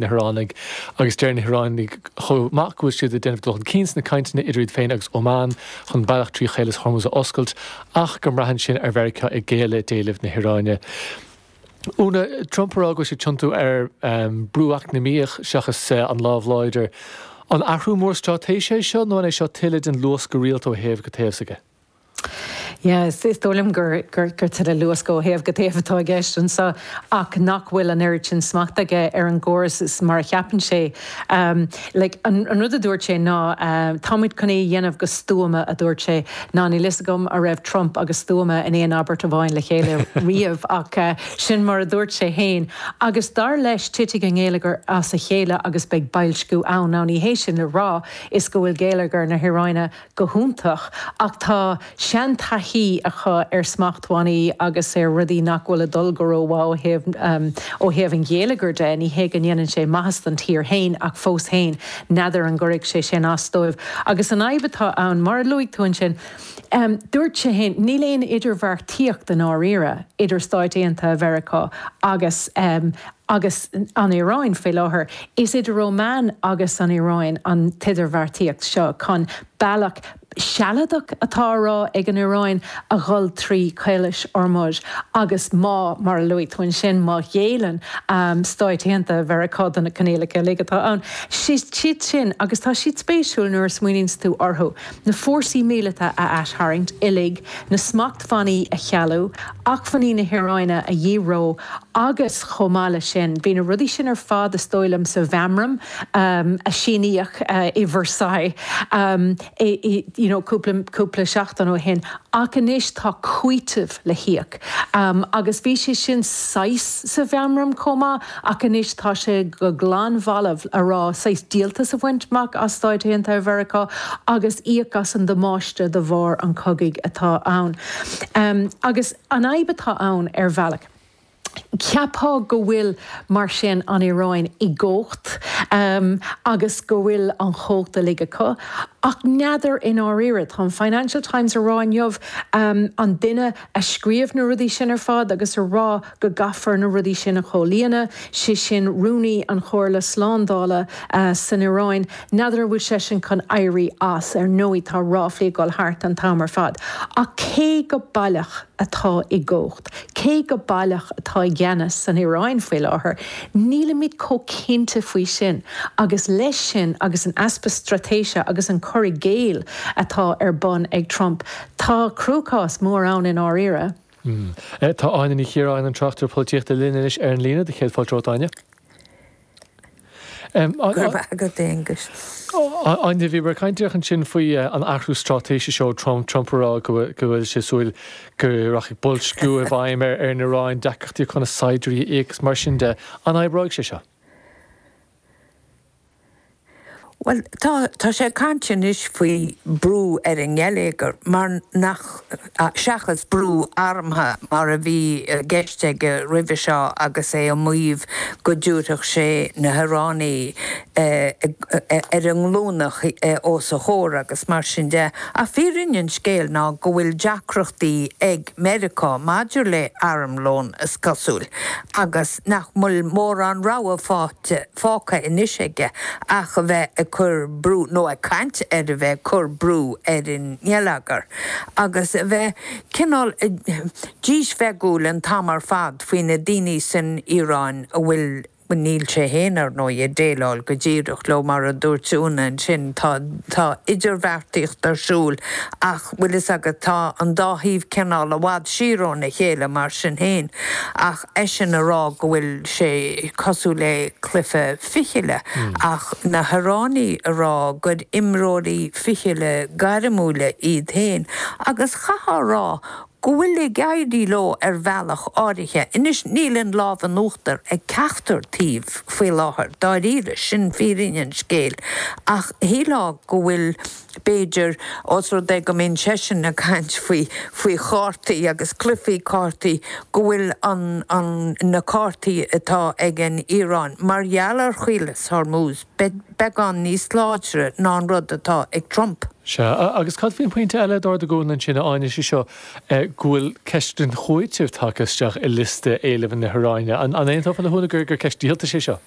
Na hIoránaigh, agus deir na hIoránaigh chomh maith go bhfuil siad ag déanamh dul chun cinn sna cainteanna idir iad féin agus Óman chun bealach trí Chaolas Hormuz a oscailt, ach go mbraitheann sin ar Mheiriceá ag géilleadh d'éilimh na hIoráine. Úna, Trump ag rá go bhfuil sé ag tiontú ar brú eacnamaíoch seachas an lámh láidir. An athrú mór straitéise é seo nó an é seo tuilleadh den luascadh rialta ó thaobh go taobh s'aige? Yeah, is dóigh liom gur tuilleadh luascadh ó thaobh go taobh atá i gceist anseo ach nach bhfuil an oiread sin smachta aige ar an gcóras is mar a cheapann sé. Like, an rud a dúirt sé ná táimid chun é a dhéanamh go stuama, a dúirt sé. Ná níl fhios agam a raibh Trump agus stuama in aon abairt amháin le chéile riamh ach sin mar a dúirt sé fhéin. Agus dar leis titfidh an geilleagar as a chéile agus beidh boilsciú ann. Now ní hé sin le rá is go bhfuil geilleagar na hIoráine go hiontach, ach tá seantaithí acu ar smachtbhannaí agus ar rudaí nach bhfuil ag dul go rómhaith ó thaobh ó thaobh an gheilleagair de. Ní hé go ndéanann sé maitheas don tír féin ach fós féin, n'fheadar an gcuirfidh sé sin as dóibh. Agus an fhadhb atá ann, mar a luaigh tú ansin, dúirt sé féin, níl aon idirbheartaíocht i ndáiríre idir Stáit Aontaithe Mheiriceá agus agus an Iaráin faoi láthair. Is idir Oman agus an Iaráin an t-idirbheartaíocht seo chun bealach sealadach atá á rá ag an Iaráin a dhul trí Chaolas Hormuz agus má, mar a luaigh tú ansin, má ghéilleann Stáit Aontaithe Mheiriceá do na coinníollacha uilig atá ann, siad sin, agus tá siad spéisiúil nuair a smaoiníonns tú orthu, na fórsaí míleata a aistharraingt uilig, na smachtbhannaí a chealú, acmhainní na hIaráine a dhídhreó agus chomh maith leis sin, bhí na rudaí sin ar fad is dóigh liom sa mheamram a síníodh i Versailles you know cúpla cúpla seachtain ó shin ach anois tá cúiteamh le híoc agus bhí sé sin saghas sa mheamram chomh maith ach anois tá sé go glanbhalbh a rá saghas díoltas a bhaint amach as Stáit Aontaithe Mheiriceá agus íoc as an damáiste de bharr an chogaidh atá ann. Agus an fhadhb atá ann ar bhealach, cheapfá go bhfuil mar sin an Iaráin i gcumhacht agus go bhfuil an chumhacht uilig acu, ach n'fheadar i ndáiríre. Tá an Financial Times a rá inniu, an duine a scríobh na rudaí sin ar fad agus a rá go gcaithfear na rudaí sin a chomhlíonadh, sé sin Rúnaí an Chomhairle Slándála san Iaráin, n'fheadar an bhfuil seisean chun éirí as. Ar ndóigh tá ráflaí ag dul thart an t-am ar fad. Ach cé go baileach atá i gcumhacht, cé go baileach atá i gceannas san Iaráin faoi láthair, nílimid chomh cinnte faoi sin. Agus leis sin agus an easpa straitéise agus an cur i gcéill atá ar bun ag Trump, tá cruachás mór ann i ndáiríre. Tá Áine Ní Chiaráin, an tráchtaire polaitíochta linn anois ar an líne. Do chéad fáilte romhat, Áine. Go raibh maith agat, Aonghus. Áine, bhíomar ag caint díreach ansin faoi an athrú straitéise seo ó Trump, Trump ag rá go bhfuil sé ag súil go rachaidh boilsciú i bhfeidhm ar an Iaráin, deacrachtaí chun a saighdiúirí a íoc agus mar sin de. An oibreoidh sé seo? Bhuel, tá, tá sé ag caint anois faoi brú ar an ngeilleagar mar nach, seachas brú armtha mar a bhí i gceist aige roimhe seo agus é ag maíomh go dtabharfadh sé na hIoránaigh ar a nglúine os a chomhair agus mar sin de. Ach fírinne an scéil ná go bhfuil deacrachtaí ag Meiriceá maidir le armlón, is cosúil, agus nach bhfuil mórán rogha faighte. fágtha anois aige ach a bheith ag cur brú, nó ag caint ar a bheith ag cur brú ar an ngeilleagar agus a bheith cineál dísbheagúil an t-am ar fad faoi na daoine san Iaráin a bhfuil, níl sé féin, ar ndóigh, ag déileáil go díreach leo, mar a dúirt Úna ansin, tá, tá idirbheartaíocht ar siúl ach, bhfuil fhios agat, tá an dá thaobh cineál i bhfad siar óna chéile mar sin féin. Ach eisean a rá go bhfuil sé cosúil le cluiche fichille, ach na hIoránaigh a rá gur imreoirí fichille gairmiúla iad féin, agus chaithfeá a rá go bhfuil ag éirí leo ar bhealach áirithe. Anois, níl an lámh in uachtar ag ceachtar taobh faoi láthair, dáiríre, sin fírinne an scéil, ach shílfeá go bhfuil. B'fhéidir, ós rud é go mbíonn seisean ag caint faoi, faoi chártaí agus cluichí cártaí, go bhfuil an, an, na cártaí atá ag an Iaráin, mar gheall ar Chaolas Hormuz, beagán níos láidre ná an rud atá ag Trump. Sea, agus cad faoin bpointe eile a d'ardaigh Úna ansin, a Áine, sé seo, go bhfuil ceist an chúitimh tagtha isteach i liosta éileamh na hIaráine. An aontófá le hÚna gur, gur ceist díoltais é seo?